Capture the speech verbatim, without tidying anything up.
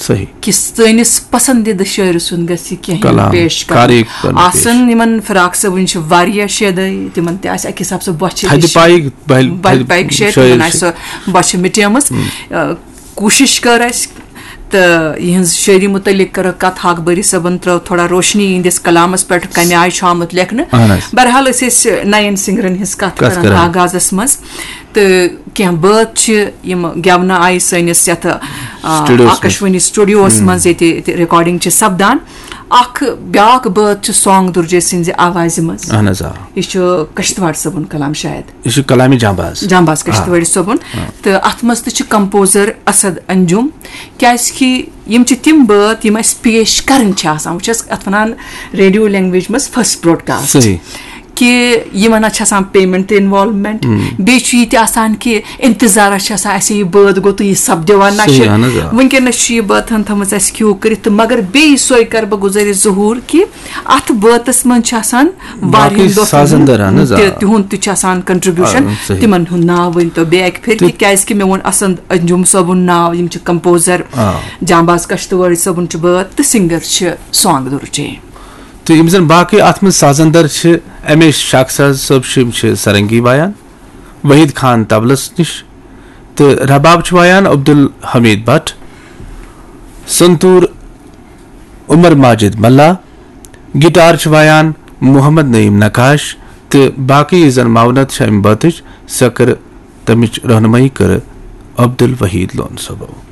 صحیح۔ کہِ سٲنِس پسندیدٕ شٲعرٕ سُنٛد گژھِ کینٛہہ یُن کلام، پیش کرُن۔ کاری کرُن پیش۔ آسن یِمن فراق صٲبٕنۍ چھِ واریاہ شعرٕ، تِمن تہِ آسہِ اکہِ حساب سُہ بۄچھِ تھدِ تہِ چھِ۔ پایہِ بلہِ بلہِ پایِکۍ شعر، شٲعر تِمن چھِ۔ آسہِ سۄ بۄچھِ مِٹیمٕژ۔ آ، کوٗشِش کٔر اَسہِ تہٕ یِہنٛز شٲعری متعلق کٔرٕکھ کتھ۔ حق بٲری صٲبن ترٲو تھوڑا روشنی یِہنٛدِس کلامس پٮ۪ٹھ، کمہِ آیہِ چھُ آمُت لیکھنہٕ۔ اہن حظ۔ بہرحال، أسۍ ٲسۍ نین سنگرن ہٕنٛز کتھ کتھ کران کران۔ آغازس منٛز، تہٕ کینٛہہ بٲتھ چھِ یِم گٮ۪ونہٕ آیہِ سٲنِس یتھ، آ، Studios منٛز۔ آکاشوانی سٹوڈیوس منٛز ییٚتہِ، ییٚتہِ ریکارڈنگ چھِ سپدان۔ اکھ بیاکھ بٲتھ چھُ سانگ درجے سٕنٛزِ آوازِ منٛز۔ اہن حظ، آ۔ یہِ چھُ کشتواڑ صٲبُن کلام شاید۔ یہِ چھُ کلامِ جانباز۔ جانباز کشتوٲڑی صٲبُن۔ تہٕ اتھ منٛز تہِ چھِ کمپوزر اسد انجم، کیازِ کہِ یِم چھِ تِم بٲتھ یِم اسہِ پیش کرٕنۍ چھِ آسان۔ وۄنۍ چھِ أسۍ اتھ ونان ریڈیو لینگویج منٛز فرسٹ براڈکاسٹ۔ صحیح۔ کہِ یِمن حظ چھِ آسان پیمنٹ تہِ انوالومنٹ، بیٚیہِ چھُ یہِ تہِ آسان کہِ انتظارس چھِ آسان، اسہِ یہِ بٲتھ گوٚو تہٕ یہِ سپدیوا نشر۔ صحیح، اہن حظ، آ۔ وٕنکیٚنس چھُ یہِ بٲتھن تھٲومٕژ اسہِ کیو کٔرِتھ، تہٕ مگر بیٚیہِ سۄے کرٕ بہٕ گُزٲرِش ظہوٗر کہِ اتھ بٲتس منٛز چھِ آسان واریاہن باقٕے دوستن سازندر، ہُنٛد اہن حظ، آ۔ تہِ، تِہُنٛد تہِ چھُ آسان کنٹریبیوشن، آ، صحیح۔ تِمن ہُنٛد ناو ؤنۍ تو بیٚیہِ اکہِ پھِرِ، تہٕ تِکیازِ کہِ مےٚ ووٚن اسد انجم صٲبُن ناو، یِم چھِ کمپوزر، آ۔ جانباز کشتوٲڑی صٲبُن چھُ بٲتھ تہٕ سنگر چھِ سانگ درجے۔ تہٕ یِم زَن باقٕے اَتھ منٛز سازندر چھِ، اَمے شاخ ساز صٲب چھِ، یِم چھِ سرنگی وایان، وحید خان طبلس نِش، تہٕ رباب چھُ وایان عبدالحمید بٹ، سنتور عمر ماجد ملا، گٹار چھُ وایان محمد نعیم نقاش، تہٕ باقٕے یُس زَن معاونت چھِ اَمہِ بٲتٕچ، سۄ کٔر تَمِچ رہنمٲیی کٔر عبدالوحید لون صٲبو۔